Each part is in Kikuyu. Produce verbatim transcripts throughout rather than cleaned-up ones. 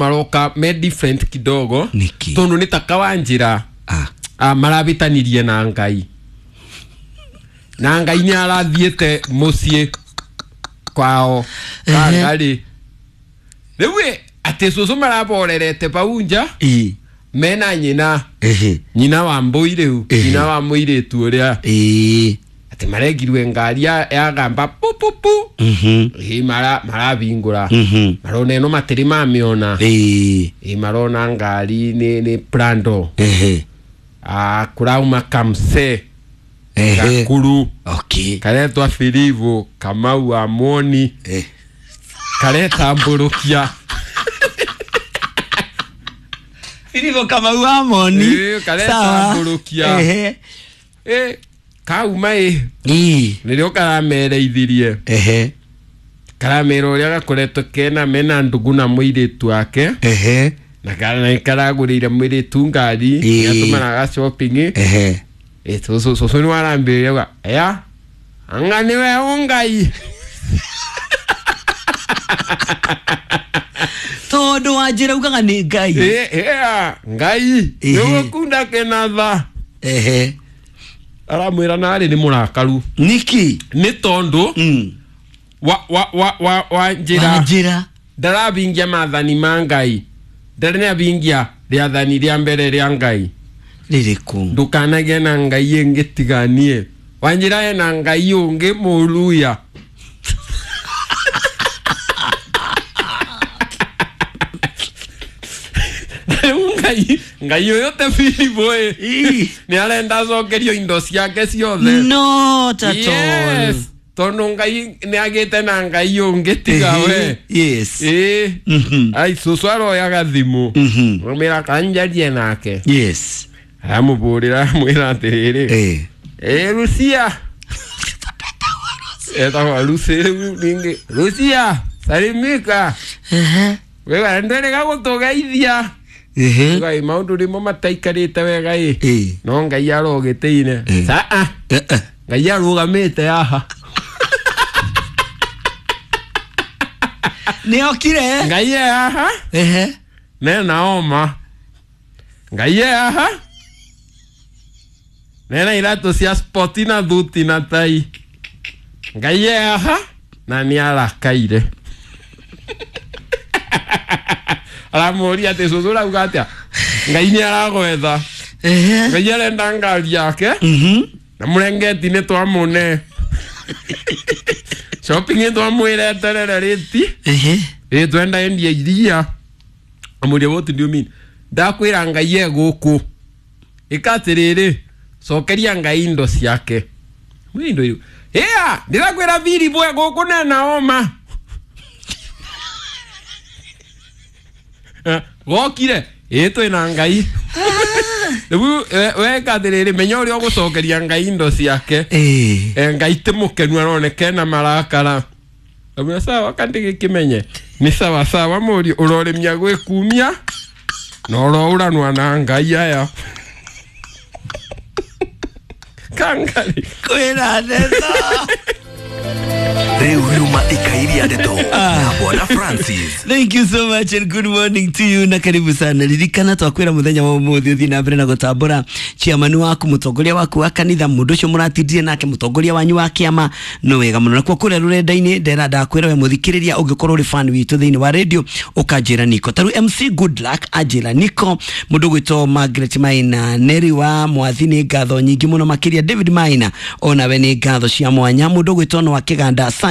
Maroka me different kidogo. Niki. Tondu ni ta Kawanjira. Ah. Ah, marabitanirie na Ngai. Na Ngai ni arathiete mucii kwao. Kangari. Riu ati cucu maraborerete pau nja. Ii. Mena nyina. Ehe. Nyina wa mbui riu. Nyina wa muiritu uria. Ii. Ati maregirwe ngari ya gamba pu pu pu. Mhm. Ii mara marabingura. Mhm. Marona eno matiri mamiona. Ii. Ii marona ngari ni ni Prado. Ehe. Ah, kurauma kamse. Ehe. Gakuru. Okay. Karetwa Filivu Kamau wa Moni. Eh. Kareta mburukia. Filivu Kamau wa Moni. Eh, kareta mburukia. Ehe. Eh, kauma eh. Ii. Nirio karamereithirie. Ehe. Karamera uria gakoretwo kena mena ndugu na muiritu wake. Ehe. Na kana karagurire muiritu ngari yatumanaga shopping. Ehe. Eh, so so so ni warambiriria ga. Ya. Anga niwe ungai. Tondu Wanjira ugaga ni Ngai. Eh, eh, Ngai. Nigukunda kenatha. Ehe. Aramwira nari ni murakaru. Niki? Ni tondu. Mm. Wa wa wa wa Wanjira. Wanjira. Ndarabingia maathani ma Ngai. Ndarabingia rĩathani rĩa mbere rĩa Ngai. Rĩrĩkũ? Ndukanagĩe na Ngai ĩngĩ tiganie. Wanjira ena Ngai ũngĩ mũruya. Ngai Ngai ũyũ te Filipu ĩ. Nĩ arenda acokerio indo ciake ciothe. Not at all. Yes. Tondu Ngai nĩ agĩte na Ngai ũngĩ tiga we. Yes. Ĩ. Mhm. Ai cucu aroyaga thimũ. Mhm. Amwĩra kanjarie nake. Yes. Amũbũrĩra amwĩra atĩrĩrĩ. Eh. Eh, Lucia. Etagwo Lucy rĩu ningĩ. Lucia, salimika. Ehe. Wewe ndwere gũtũgeithia. Ehe. Ngai maũndũ rĩmo mataikarĩte wega ĩ. Eh. No Ngai arogĩtĩine. Eh. Saa. Eh eh. Ngai arũgamĩte haha. Nĩ okire? Ngai e haha. Ehe. Nena oma. Ngai e haha. Nena iratũ cia spoti na thuti na tai. Ngai e haha. Na nĩ arakaire. Aramũria atĩ cucu ũrauga atĩa? Ngai nĩ aragwetha. Ehe. Ngai arenda ngari yake. Mhm. Na mũrengeti nĩ twamũne. Shopping nĩ twamwĩra eterere rĩti. Ehe. Ĩ twenda endia iria. Amũria what do you mean? Ndakwĩra Ngai e gũkũ. Ĩka atĩrĩrĩ, cokeria Ngai indo ciake. Mwĩ indo iu. Ĩa, ndĩrakwĩra Filipu e gũkũ nena oma. Gokire, ĩ twĩna Ngai. Rĩu weka atĩrĩrĩ, menya ũrĩa ũgũcokeria Ngai indo ciake. Eh. Eh, Ngai ti mũkenu aroneka ena marakara. Amwĩra sawa kandi gĩkĩmenye. Nĩ sawa sawa mũriũ ũrorĩmia gwĩkumia na ũroũranwa na Ngai aya. Kangari. Kwĩna ndeto. Rĩu yuma ikairia ndeto na Bwana Francis. Thank you so much and good morning to you na karibu sana. Ririkana twakwira muthenya wa umuthi uthi na mbere na gutambura chairman waku mutongoria waku wa kanitha mundu ucio muratindire nake mutongoria wanyu wa kiama no wega muno. Na kwa kuria rurenda-ini ndera ndakwira we muthikiriria ungikorwo uri fan witu thiini wa radio ukanjira niko taru M C Good Luck anjira niko mundu gwitwo Margaret Maina Neri wa Mwathi ni ngatho nyingi muno makiria David Maina onawe ni ngatho cia mwanya mundu gwitwo no wa Kiganda asante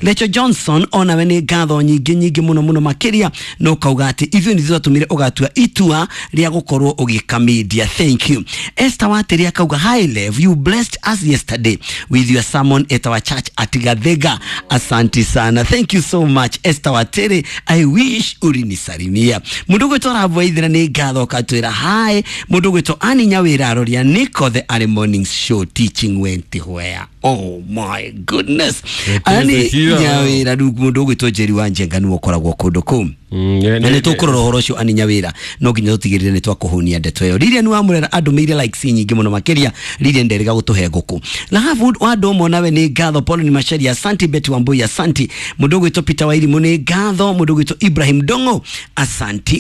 Lecho Johnson onawe ni ngatho nyingi nyingi muno muno makiria no kauga ati ithuĩ nĩ twatumire ugatua itua ria gukorwo ugika media. Thank you. Esther Wateri akauga hi Lev, you blessed us yesterday with your sermon at our church at Gathega. Asante sana. Thank you so much Esther Wateri. I wish urinisalimia. Mundu gwitwo Rabu ni ngatho katwira hi. Mundu gwitwo Ani Nyawira aroria niko the early morning show teaching went where. Oh my goodness. Ani Cia. Nyawira rĩu mũndũ ũgwĩtwo Njeri wa Njenga nĩwe ũkoragwo kũndũ kũu. Mm, Na nä tå kå rora å horo å cio ani Nyawira, no nginya tå tigä rä re nä twakå ndeto ä yo. Lilian wa Murera andå mä ire likes nyingä må no makä ria. Lilian nderega gå tå he ngå kå lahabu wa andå ũmwe nawe nä ngatho. Paul ni Macharia, asanti. Betty Wambui, asanti. Må ndå å gwä two Peter Wairimå, nä ngatho. Må ndå å gwä two Ibrahim Dongo, asanti.